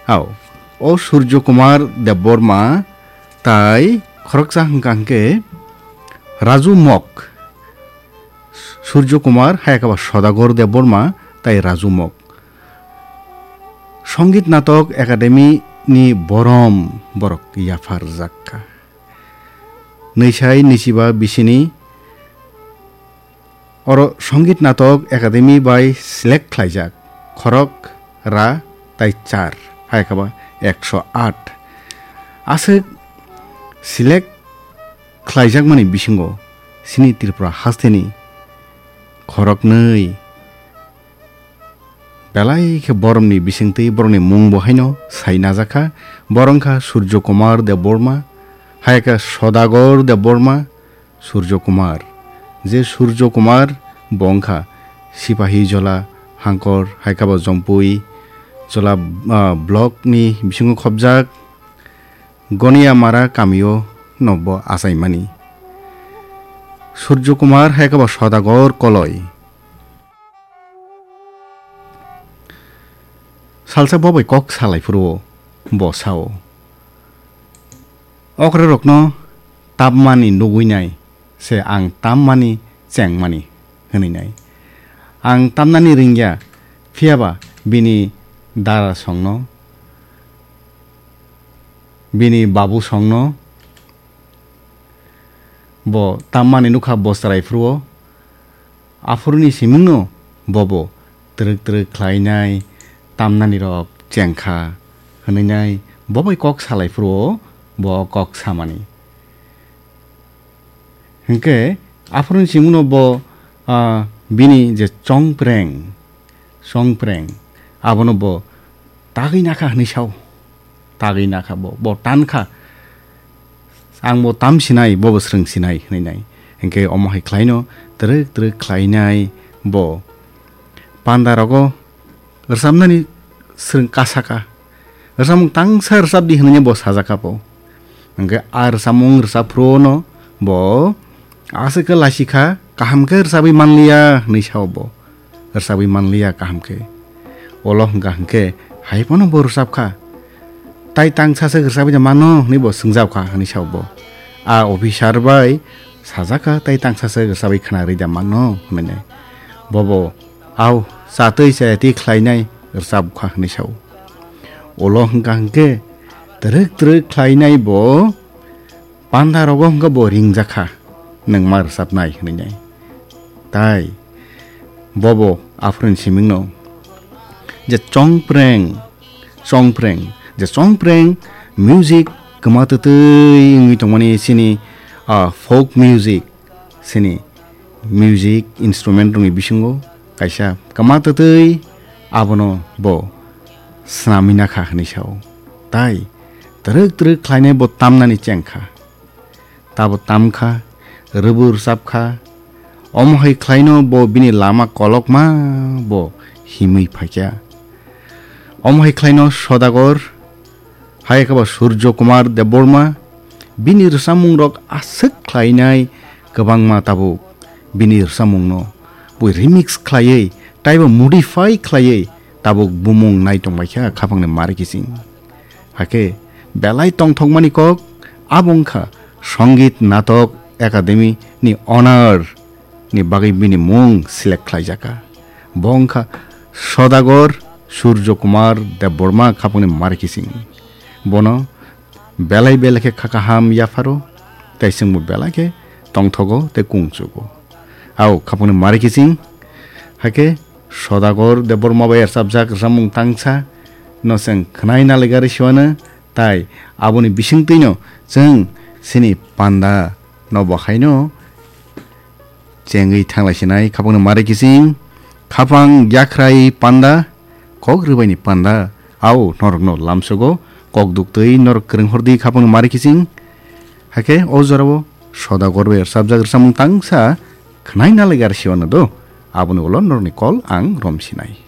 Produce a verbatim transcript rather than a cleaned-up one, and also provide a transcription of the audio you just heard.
Ao, o Surjo Kumar Debbarma tai khoroksa hwnkha hwnkhe Raju Mok. Surjo Kumar, hayakhe ba Sodagar Debbarma tai Raju Mok. Songit Natok Academy ni borom borok yapharjak kha. Nwisai nwichiba bisini oro Songit Natok Academy bai select khlaijak khorok ra tai char, hai khe ba ekso aat. Aswk select khlaijakmani bisingo chini Tripura hasteni khoroknwi belai khe boromni bisingtwi borokni mungbo haino sai najakha. Borok wngkha Surjo Kumar Debbarma, hai khe Sodagar Debbarma, Surjo Kumar. Je Surjo Kumar bo wngkha Sipahi Jola, Hangkor, hai khe bo Jompui Jola, ah, block ni bisingo khobjak. Goniamara kamio no bo achaimani. Surjo Kumar hai khe bo Sodagar Koloi. Salsa bo bai kok salai phuru bo sao, "Okra rokno tamani nugui nai se ang tammani chengmani," hwnwi nai. Ang tamnani ringya, phiyaba bini dara songno, bini babu songno bo tammani nukha bo chwrai phuru o. Aphuruni simingno bobo twrwk twrwk khlainai tamnani rok chengkha hwnwi nai bo bai kok salai phuru o bo kok samani. Hinkhe aphuruni simingno bo, ah, bini je chongpreng, chongpreng, abono bo tagwi nakha hwnwi sao. Tagwi nakha bo, bo tankha. Ang bo tam sinai, bo bo swrwng sinai hwnwi nai. Hinkhe omo hai khlaino twrwk twrwk khlainai bo. Panda rogo rwchapnani swrwng kasaka. Rwchapmung tangsa rwchapdi hwnwi bo sajakha bo. Hinkhe a rwchapmung rwchap phuru no bo aswk khe lasikha, kaham khe rwchapwi manliya hwnwi sao bo. Rwchapwi manliya kaham khe. Olo hwnkha hwnkhe hai phano bo rwchapkha. Tai tangsa se rwchapwi da mano hwnwi bo swngjapkha hwnwi sao bo. A officer bai sajakha tai tangsa se rwchapwi khna rwi da mano hwnwi. Bobo, "Au, chatwi chayatwi khlainai rwchapkha," hwnwi sao. Olo hwnkha hwnkhe twrwk twrwk khlainai bo panda rogo hwnkha bo ringjakha, "Nwng ma rwchapnai," hwnwi nai. Tai bobo aphuruni simingno je chongpreng, chongpreng, je chongpreng music kwma twtwi wngwi tongmani chini, ah, folk music, chini music instrument rokni bisingo kaisa kwma twtwi abono bo swnamwi nakha hwnwi sao. Tai twrwk twrwk khlainai bo tamnani chengkha. Tabo tamkha, rwbu rwchapkha. Omo hai khlaino bo bini lama kolokma bo himwi phaikha. Omo hai khlaino Sodagar, hai khe bo Surjo Kumar Debbarma, bini rwchapmungrok aswk khlainai kwbangma tabuk bini rwchapmungno bo remix khlaiwi taibo modify khlaiwi tabuk bumung nai tongbaikha khapangni mari kiching. Hakhe belai tongthokmani kok abo wngkha Songit Natok Academy ni owner ni bagwi bini mung select khlaijakha. Bo wngkha Sodagar Surjo Kumar Debbarma khapangni mari kiching. Bono belai belai khe kha kaham yapharo, tei chwngbo belai khe tongthogo tei kungchugo. Ao khapangni mari kiching, hakhe Sodagar Debbarma bai rwchapjak rwchapmung tangsa no chwng khwnai naligarwi siwano, tai aboni bisingtwino chwng chini panda no bo haino chengwi thanglaisinai khapangni mari kiching, khapang yakhrai panda, kok rwbaini panda, ao norokno lamsogo, kok duktwi norok kwrwng hordi khapangni mari kiching. Hakhe o jorao Sodagar bai rwchapjak rwchapmung tangsa khwnai naligarwi siwano do, aboni ulo norokni call ang romsinai.